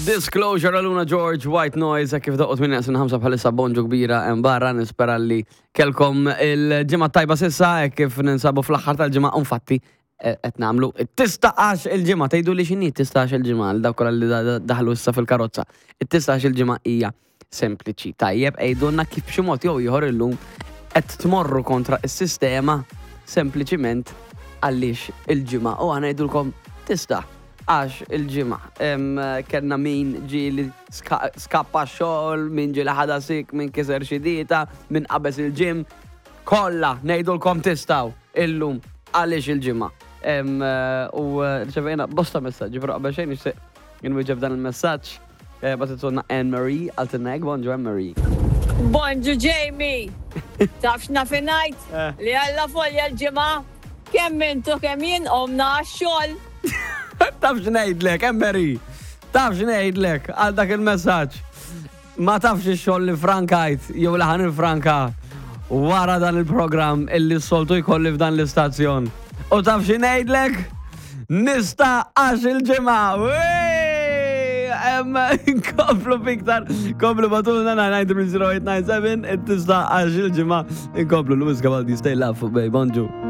Disclosure Aluna George, White Noise, kif doqqot minn jaqsin ħamsa bħalissa bonġu kbira hemm barra nispera li kelkom il-ġimgħa tajba sissa hekk kif ninsabu fl-aħħar tal-ġimgħa infatti eh, qed nagħmlu it-tistax il-ġimgħa tgħidu li x'inhi tistax il-ġimgħa għal dawk kollha li da- daħlu issa fil-karozza. It-tistax il-ġimgħa hija sempliċi. Tajjeb għidulna kif b'xi mod jew ieħor illum qed tmorru kontra s-sistema sempliċiment għaliex il-ġimgħa u aħna ngħidulkom tista' għax il-ġimgħa. Kellna min ġie li skappa x-xogħol, min ġie li ħadha sik, min kiser xi dieta, min qabeż il-gym. Kollha ngħidulkom tistgħu illum għaliex il-ġimgħa. U rċevejna bosta messaġġi, però qabel xejn nixtieq inwieġeb dan il-messaġġ. Eh, Bagħtitulna Anne Marie, għaltilna hekk, bonġu Anne Marie. Bonġu Jamie! Taf x'naf ingħid? Eh. Li Alla folja l-ġimgħa, kemm intu kemm jien qomna għax-xogħol. Taf x'ngħidlek, Anne Marie? Taf x'ngħidlek għal dak il-messaġġ? Ma tafx ix-xogħol li frankajt jew li ħan franka wara dan il-programm illi s-soltu jkolli f'dan l-istazzjon. U taf xi ngħidlek? Nista' għax il-ġimgħa. Nkomplu fiktar, komplu batulna 9930897, tista' għax il-ġimgħa. Nkomplu Louis Gavaldi, stay love, babe, bonġu.